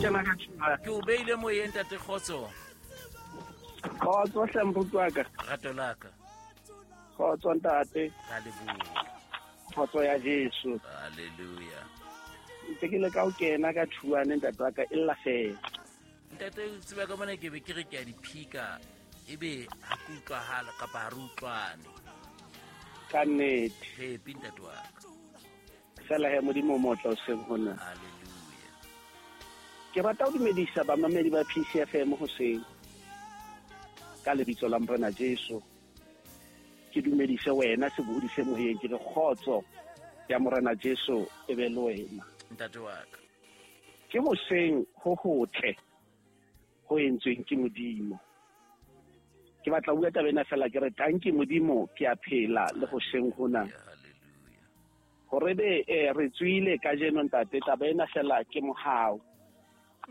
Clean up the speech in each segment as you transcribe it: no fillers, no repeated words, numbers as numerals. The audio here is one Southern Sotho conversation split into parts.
kena ka tshwana. Ke o beile moyeng tate kgotso. Kgotso hle moruti wa ka. Rato la ka. Kgotso ntate. Ka leboha. Kgotso ya Jesu. Hallelujah. Ntse ke le ka o kena ka thuane ntate wa ka e lla fela. Ntate o tseba ka mona ke be ke re ke a diphika ebe ha ke utlwahala kapa ha re utlwane. Ka nnete. Happy ntate wa ka. Fela he Modimo o motle o seng hona. Hallelujah. Ke rata ho dumedisa bamamedi ba PCFM hoseng ka lebitso la Morena Jesu. Ke dumedise wena sebohodi se moyeng, ke re kgotso ya Morena Jesu e be le wena. Ntate wa ka. Ke hoseng ho hotle ho entsweng ke Modimo. Ke batla ho bua taba ena fela ke re tanki Modimo ke a phela le hoseng hona. Hallelujah. Hore be re tswile kajeno ntate, taba ena fela ke mohau.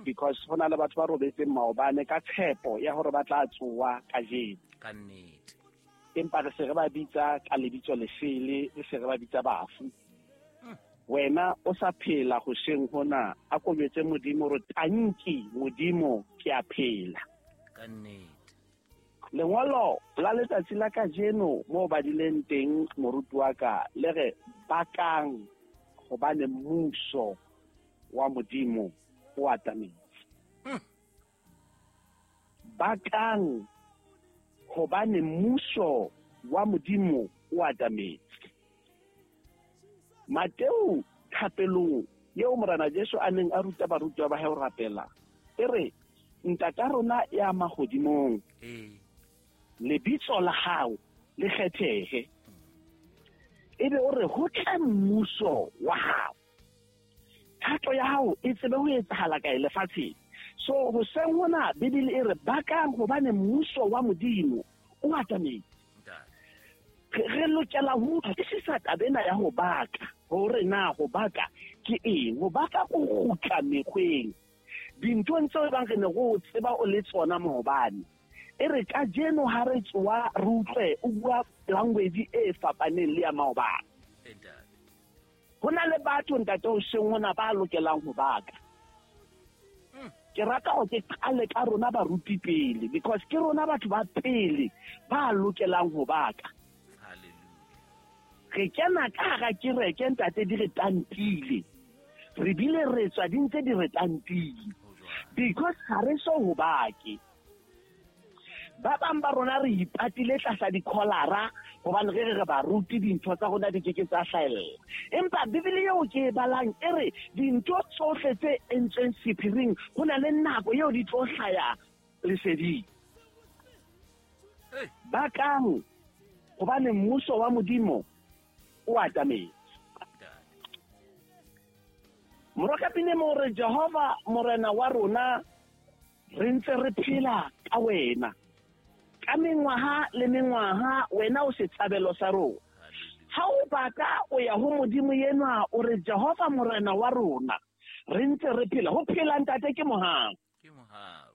Because ho na le batho ba robetseng maobane ka tshepo ya hore ba tla tsoa kajeno. Ka nnete. Empa re se re ba bitsa ka lebitso lesele, re se re ba bitsa bafu. Wena o sa phela hoseng hona, a kobetse Modimo re tanki Modimo ke a phela. Ka nnete. Lengolo la letsatsi la kajeno mo badileng teng moruti wa ka le re bakang hobane mmuso wa Modimo o atametse. Bakang hobane mmuso wa Modimo o atametse. Mateo thapelong eo Morena Jesu a neng a ruta barutwa ba hae ho rapela, e re Ntata rona ya mahodimong, lebitso la hao le kgethehe. Ebe o re ho tle mmuso wa hao, thato ya hao e tsebe ho etsahala kae lefatsheng. So hoseng hona Bibele e re bakang hobane mmuso wa Modimo o atametse. Re lokela ho utlwisisa taba ena ya ho baka, hore na ho baka ke eng. Ho baka ko kgutla mekgweng, dinthong tseo ebang re ne re o tseba o le tsona maobane. E re kajeno ha re tsoa re utlwe o bua language e fapaneng le ya maobane. Ho na le batho ntate hoseng hona ba lokelang ho baka. Ke rata hore ke qale ka rona baruti pele, because ke rona batho ba pele ba lokelang ho baka. Re kena ka hara kereke ntate di re tantile, re bile re tswa di ntse di re tantile, because ha re so ho bake. Ba bang ba rona re ipatile tlasa dikholara hobane re re re baruti dintho tsa rona di keke tsa hlahella. Empa Bibele eo ke e balang e re dintho tsohle tse entsweng sephiring ho na le nako eo di tlo hlaya leseding. Bakang hobane mmuso wa Modimo o atametse. Morokapine mo re Jehova Morena wa rona re ntse re phela ka wena. Ka mengwaha le mengwaha wena o setshabelo sa rona. Ha o baka o ya ho Modimo enwa o re Jehova Morena wa rona re ntse re phela. Ho phela ntate ke mohau. Ke mohau.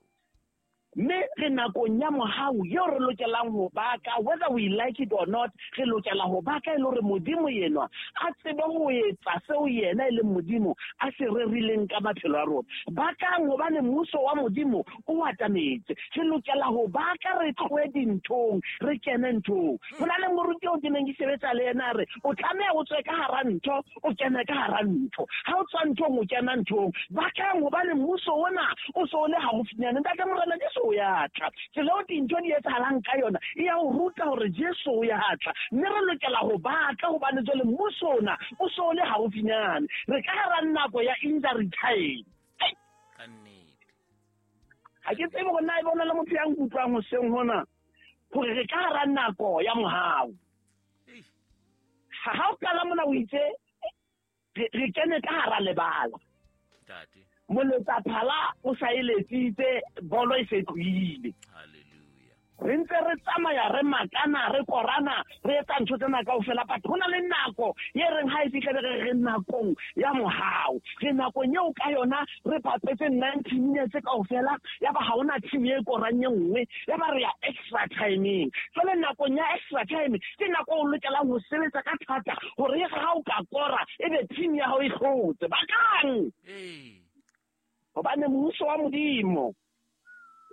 Mme re nakong ya mohau eo re lokelang ho baka, whether we like it or not, re lokela ho baka e le hore Modimo enwa a tsebe ho etsa seo yena e leng Modimo a se rerileng ka maphelo a rona. Bakang hobane mmuso wa Modimo o atametse. Re lokela ho baka, re tlohe dinthong, re kene nthong. Ho na le moruti eo ke neng ke sebetsa le yena a re, o tlameha o tswe ka hara ntho, o kene ka hara ntho. Ha o tswa nthong, o kena nthong. Bakang hobane mmuso ona o so o le haufinyane. Ntate Morena Jesu o ya tla. Tsela eo dintho di etsahalang ka yona e ya o ruta hore Jesu o ya tla. Mme re lokela ho baka hobane jwale mmuso ona o so o le haufinyane. Re ka hara nako ya injury time. Ka nnete. Ha ke tsebe hore na e bona le motho ya nkutlwang hoseng hona hore re ka hara nako ya mohau. Ha o qala mona o itse re kene ka hara lebala. Moletsa phala o sa e letsitse, bolo e se tlohile. Hallelujah. Re ntse re tsamaya re makana, re korana, re etsa ntho tsena kaofela, but ho na le nako e reng ha e fihla be re re nakong ya mohau. Re nakong eo ka yona re bapetse 90 minutes kaofela, ya ba ha hona team e korang e nngwe, ya ba re ya extra timeng. Jwale nakong ya extra time ke nako o lokelang ho sebetsa ka thata hore ha o ka kora ebe team ya hao e hlotse. Bakang! Hobane mmuso wa Modimo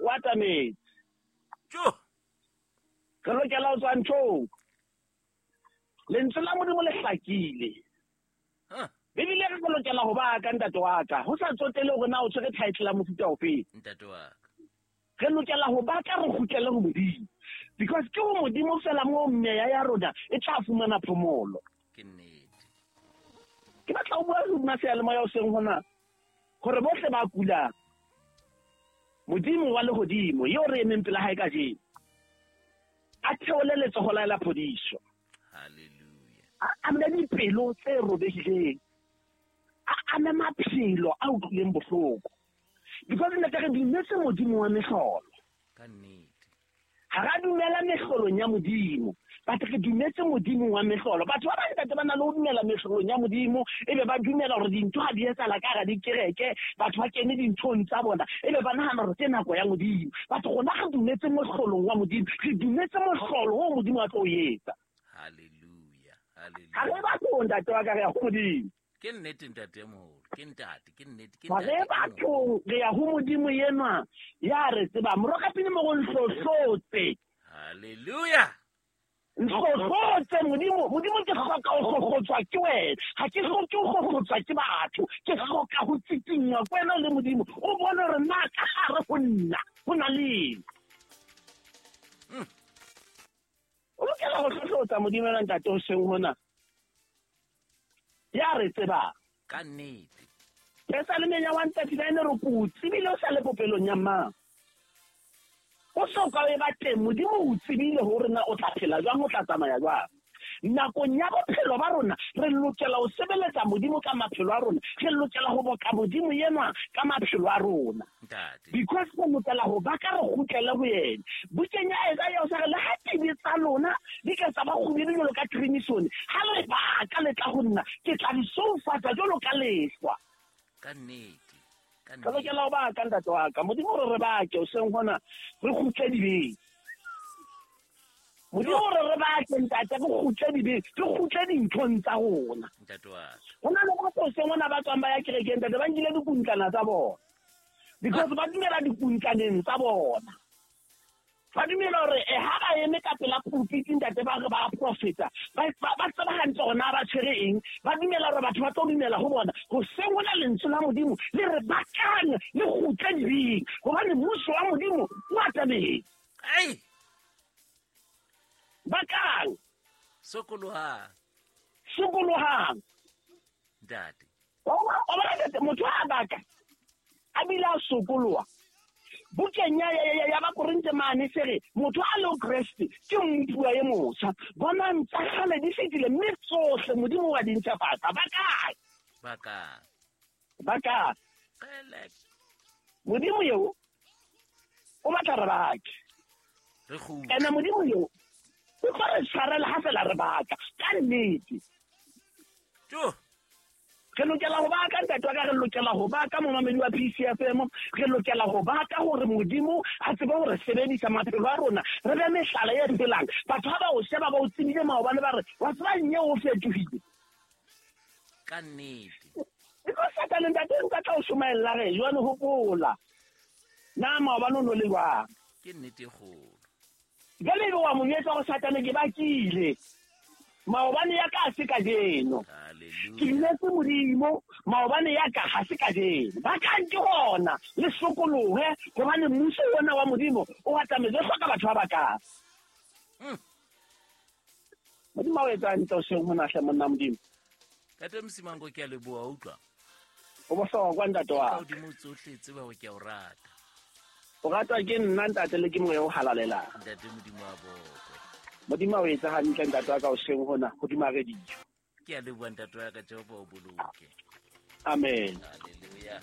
o atametse. Re lokela ho tswa nthong. Lentswe la Modimo le hlakile. Bibele re lokela ho baka, ntate wa ka, ho sa tsotele hore na o tshwere title ya mofuta ofe. Ntate wa ka. Re lokela ho baka, re kgutlele ho Modimo. Because ke ho Modimo fela moo meya ya rona e tla fumana phomolo. Ke nnete. Ke batla ho bua le seyalemoya hoseng hona hore bohle ba kulang, Modimo wa lehodimo eo re emeng pela hae kajeno, a theole letsoho la hae la phodiso. Hallelujah. A ame dipelo tse robehileng, a ame maphelo a utlwileng bohloko. Because ntate re dumetse Modimo wa mehlolo. Ka nnete. Ha ra dumela mehlolong ya Modimo, but re dumetse Modimo wa mehlolo. Batho ba bang ntate ba na le ho dumela mehlolong ya Modimo, ebe ba dumela hore dintho ha di etsahala ka hara dikereke, batho ba kene dinthong tsa bona, ebe ba nahana hore ke nako ya Modimo. But rona re dumetse mohlolong wa Modimo, re dumetse mohlolo oo Modimo a tlo o etsa. Hallelujah. Hallelujah. Ha re bathong ntate wa ka, re ya ho Modimo. Ke nnete ntate e moholo, ke ntate, ke nnete, ke Ha re ntate e moholo. bathong, re ya ho Modimo enwa ya re tsebang. Morokapine mo go nhlohlotse. Hallelujah. Nhlohlotse Modimo, Modimo ke hloka ho hlohlotswa ke wena. Ha ke hloke ho hlohlotswa ke batho, ke hloka ho tsikinngwa ke wena le Modimo. O bone hore na ka hare ho nna ho na le eng. O lokela ho hlohlotsa Modimo enwa ntate hoseng hona. Ya re tsebang. Ka nnete. Pesalemeng ya 139 re ko o tsebile o sa le popelong ya mmao. O soka o eba teng, Modimo o tsebile hore na o tla phela jwang, o tla tsamaya jwang. Nakong ya bophelo ba rona, re lokela ho sebeletsa Modimo ka maphelo a rona. Re lokela ho boka Modimo enwa ka maphelo a rona. Ntate. Because re lokela ho baka re kgutlele ho yena. Bukeng ya Isaiah o sa re, le ha dibe tsa lona di ka tsa ba kgubedu jwalo ka crimson, ha le baka le tla ho nna, ke tla di soufatsa jwalo ka lehlwa. Ka nnete. Ka Re nnete. lokela ho baka, ntate wa ka. Modimo re re bake hoseng hona, re kgutle dibeng. Modimo re re bake ntate, re kgutle dibeng, re kgutle dinthong tsa rona. Ntate wa ka. Ho na le batho hoseng hona ba tswang ba ya kerekeng ntate, ba nkile dikuntlana tsa bona. Because ba dumela dikuntlaneng tsa bona. Ba dumela hore ha ba eme ka pela pulpit ntate ba re ba profeta, ba tseba hantle hore na ba tshwere eng. Ba dumela hore batho ba tlo dumela ho bona. Hoseng hona lentswe la Modimo le re bakang le kgutle dibeng, hobane mmuso wa Modimo o atametse. Ai! Bakang. Sokolohang. Sokolohang. Ntate. Wa bona ntate, motho ha baka a bile a sokoloha. Bukeng ya Bakorinthe mane se re, motho a le ho Kreste ke mmupuwa e motjha. Bonang tsa kgale di fetile, mme tsohle Modimo wa di ntjhafatsa. Ba kae? Ba kae? Ba kae? Qele. Modimo eo o batla re bake. Re kgutle. Ene Modimo eo o tlo re tshwarela ha fela re baka. Ka nnete. Jo. Re lokela ho baka ntate wa ka, re lokela ho baka momamedi wa PCFM, re lokela ho baka hore Modimo a tsebe hore sebedisa maphelo a rona, re be mehlala e phelang. Batho ha ba o sheba ba o tsebile maobane ba re, wa tseba eng eo o fetohile? Ka nnete. Because Satane ntate nka tla o shomaella re, jwale hopola. Na maobane o no le jwang? Ke nnete e kgolo. Jwale ebe wa mo jwetsa hore Satane ke bakile. Maobane ya ka ha se kajeno. Hallelujah. Ke dumetse Modimo, maobane ya ka ha se kajeno. Ba kang ke hona, le sokolohe, hobane mmuso ona wa Modimo o atametse, o hloka batho ba bakang. Modimo a o etsa hantle hoseng hona hle, monna Modimo. Ntate Msimango, ke a leboha, utlwa. O bohlokwa ntate wa Ka ka. hodimo tsohle tseba hore ke a o rata. O ratwa ke nna ntate le ke moya o halalelang. Ntate Modimo a bokwe. Modimo a o etsa hantle ntate wa ka hoseng hona hodima radio. Ke a leboha ntate wa ka, Jehova o boloke. Amen. Hallelujah.